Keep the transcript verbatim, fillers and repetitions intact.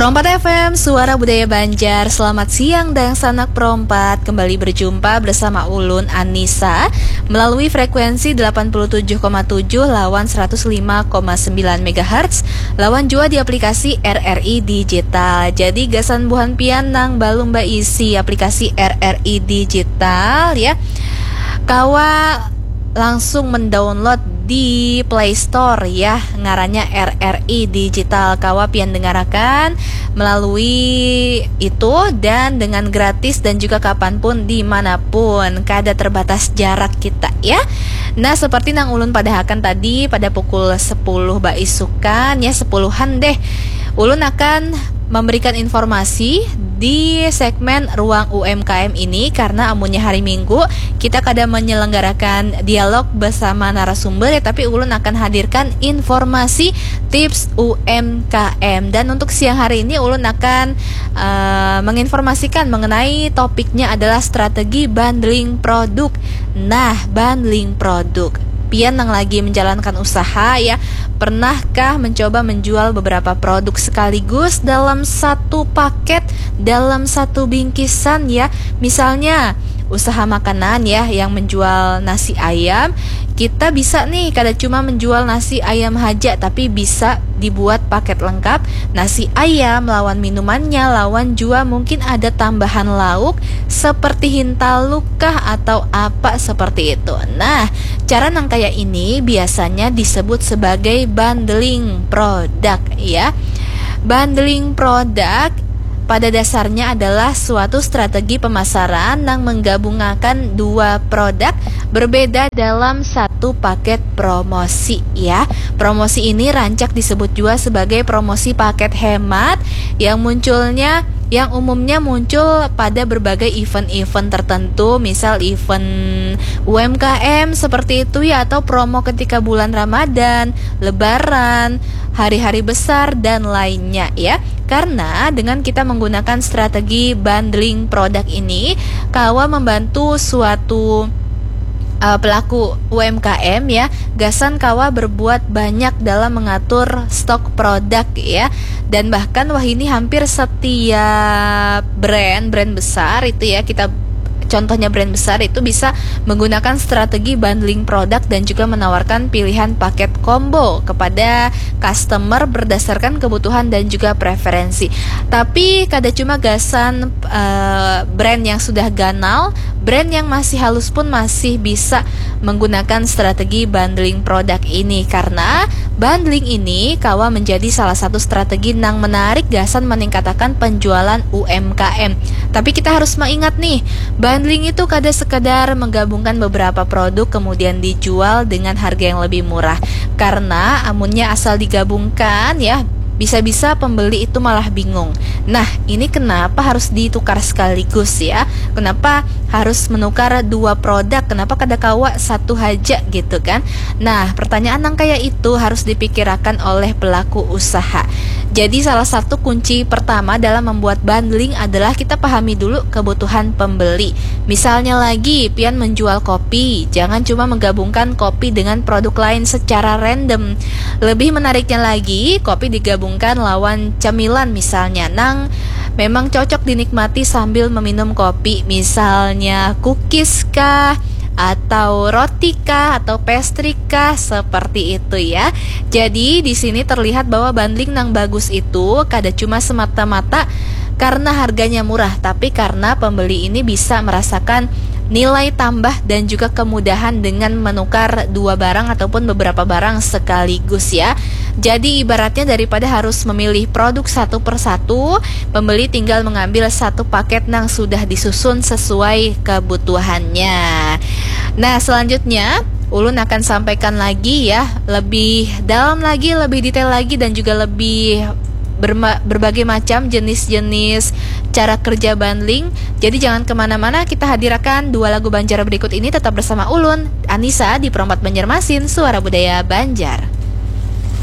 Pro empat F M, Suara Budaya Banjar. Selamat siang, dangsanak Pro empat. Kembali berjumpa bersama ulun, Anissa, melalui frekuensi delapan puluh tujuh koma tujuh lawan seratus lima koma sembilan megahertz, lawan jua di aplikasi R R I Digital. Jadi, gasan buhan pian nang balum baisi aplikasi R R I Digital, ya, kawa langsung mendownload di Play Store, ya, ngarannya R R I Digital. Kawa pian dengarakan melalui itu dan dengan gratis dan juga kapanpun, dimanapun, kada terbatas jarak kita, ya. Nah, seperti nang ulun padahakan tadi, pada pukul sepuluh baisukan, ya, sepuluhan deh, ulun akan memberikan informasi di segmen Ruang U M K M ini, karena amunnya hari Minggu kita kada menyelenggarakan dialog bersama narasumber, ya, tapi ulun akan hadirkan informasi tips U M K M. Dan untuk siang hari ini, ulun akan, eh, menginformasikan mengenai topiknya adalah strategi bundling produk. Nah, bundling produk. Pian nang lagi menjalankan usaha, ya, pernahkah mencoba menjual beberapa produk sekaligus dalam satu paket, dalam satu bingkisan, ya? Misalnya, usaha makanan, ya, yang menjual nasi ayam, kita bisa nih, kada cuma menjual nasi ayam haja, tapi bisa dibuat paket lengkap, nasi ayam lawan minumannya, lawan jua mungkin ada tambahan lauk seperti hintalu kah atau apa seperti itu. Nah, cara nang kaya ini biasanya disebut sebagai bundling produk, ya. Bundling produk pada dasarnya adalah suatu strategi pemasaran nang menggabungakan dua produk berbeda dalam satu paket promosi, ya. Promosi ini rancak disebut juga sebagai promosi paket hemat yang munculnya, yang umumnya muncul pada berbagai event-event tertentu, misal event U M K M seperti itu, ya, atau promo ketika bulan Ramadan, Lebaran, hari-hari besar, dan lainnya, ya. Karena dengan kita menggunakan strategi bundling produk ini, kawa membantu suatu, eh, pelaku U M K M, ya, gasan kawa berbuat banyak dalam mengatur stok produk, ya. Dan bahkan wahini hampir setiap brand, brand besar itu, ya, kita contohnya brand besar itu bisa menggunakan strategi bundling produk dan juga menawarkan pilihan paket combo kepada customer berdasarkan kebutuhan dan juga preferensi. Tapi kada cuma gasan, eh, brand yang sudah ganal, brand yang masih halus pun masih bisa menggunakan strategi bundling produk ini, karena bundling ini kawa menjadi salah satu strategi nang menarik gasan meningkatakan penjualan U M K M. Tapi kita harus mengingat nih, bundling itu kada sekadar menggabungkan beberapa produk kemudian dijual dengan harga yang lebih murah. Karena amunnya asal digabungkan, ya, bisa-bisa pembeli itu malah bingung. Nah, ini kenapa harus ditukar sekaligus, ya? Kenapa harus menukar dua produk? Kenapa kada kawa satu haja gitu, kan? Nah, pertanyaan nang kaya itu harus dipikirakan oleh pelaku usaha. Jadi, salah satu kunci pertama dalam membuat bundling adalah kita pahami dulu kebutuhan pembeli. Misalnya lagi, pian menjual kopi, jangan cuma menggabungkan kopi dengan produk lain secara random. Lebih menariknya lagi, kopi digabungkan lawan cemilan misalnya, nang memang cocok dinikmati sambil meminum kopi, misalnya cookies kah, atau roti kah, atau pastry kah, seperti itu, ya. Jadi, di sini terlihat bahwa bundling nang bagus itu kada cuma semata-mata karena harganya murah, tapi karena pembeli ini bisa merasakan nilai tambah dan juga kemudahan dengan menukar dua barang ataupun beberapa barang sekaligus, ya. Jadi, ibaratnya daripada harus memilih produk satu per satu, pembeli tinggal mengambil satu paket nang sudah disusun sesuai kebutuhannya. Nah, selanjutnya ulun akan sampaikan lagi, ya, lebih dalam lagi, lebih detail lagi, dan juga lebih berma- berbagai macam jenis-jenis cara kerja bundling. Jadi, jangan kemana-mana, kita hadirakan dua lagu Banjar berikut ini. Tetap bersama ulun, Anissa, di Pro empat Banjarmasin, Suara Budaya Banjar.